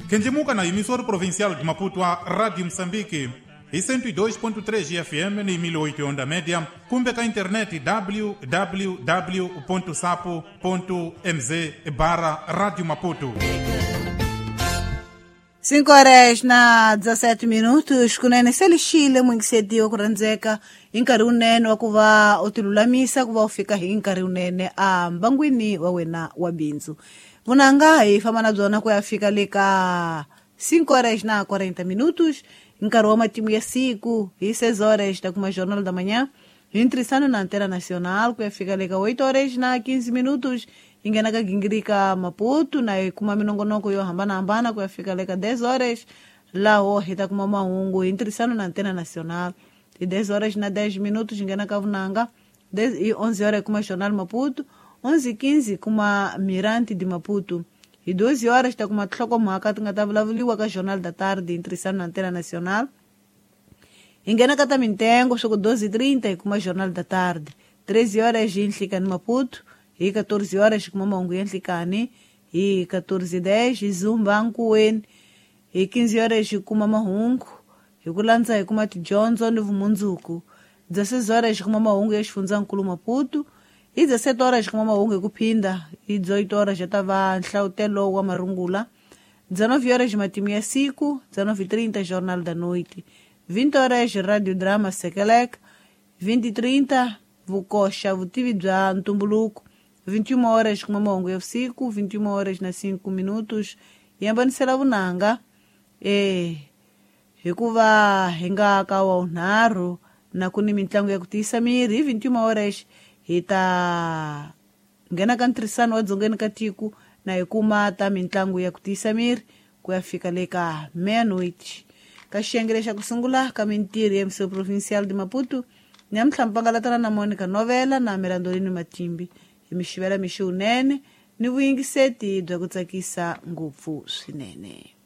Kendjimuka na emissora provincial de Maputo, a Rádio Moçambique, e 102.3 FM na 1008 onda média, cumbe a internet www.sapo.mz barra Rádio Maputo. 5 horas na 17 minutos kunene se lixile muingiseti wa ku rhandzeka hi nkarhi wunene wa ku va u tilulamisa ku va u fika hi nkarhi wunene a mbangwini wa wena wa bindzu vunanga hi famba na byona ku ya fika le ka 5 horas na 40 minutos nkarhi wa matimu ya siku hi 6 horas ta kuma jornal da manhã hi ntirhisano na antena nacional ku ya fika le ka 8 horas na 15 minutos hi nghena ka gingirika maputo na hi kuma minongonoko yo hambanahambana ku ya fika le ka 10 horas laho hi ta kuma mahungu hi ntirhisano na antena nacional hi 10 horas na 10 minutos hi nghena ka vunanga hi 11 horas hi kuma jornal maputo 11:15 kuma mirante de maputo hi 12 horas ta kuma tinhlokomhaka ti nga ta vulavuriwa ka jornal da tarde hi ntirhisano na antena nacional hi nghena ka ta mintengo swa ku 12:30 hi kuma jornal da tarde 13 horas hi nhlikani maputo hi 14 horas hi kuma mahungu ya nhlikani hi 14:10 hi zumba nkuweni hi 15 horas hi kuma mahungu hi ku landza hi kuma tidyondzo ni vumundzuku 16 horas hi kuma mahungu ya xifundzankulu maputo hi 17 horas hi kuma mahungu hi ku phinda hi 18 horas ya ta va nhlawutelo wa marungula 19 horas matimu ya siku 19:30 jornal da noite 20 horas radio drama sekeleka 20:30 vukoxa vutivi bya ntumbuluko 21 horas kuma mahungu ya vusiku 21 horas na 5 minutos hi hambanisela vunanga hikuva hi nga ka wa vunharhu na ku ni mitlangu ya ku tiyisa miri hi 21 horas hi ta nghena ka ntirhisano wa dzongeni ka tiko na hi kuma ta mitlangu ya ku tiyisa miri ku ya fika le ka meia-noite ka xiyenge lexa ku sungula ka mintirho ya mso provincial de maputo nyamuntlha mpangalatana na monica novela na mirandolini matimbi hi mi xivela mixi wunene ni vuyingiseti bya ku tsakisa ngopfu swinene.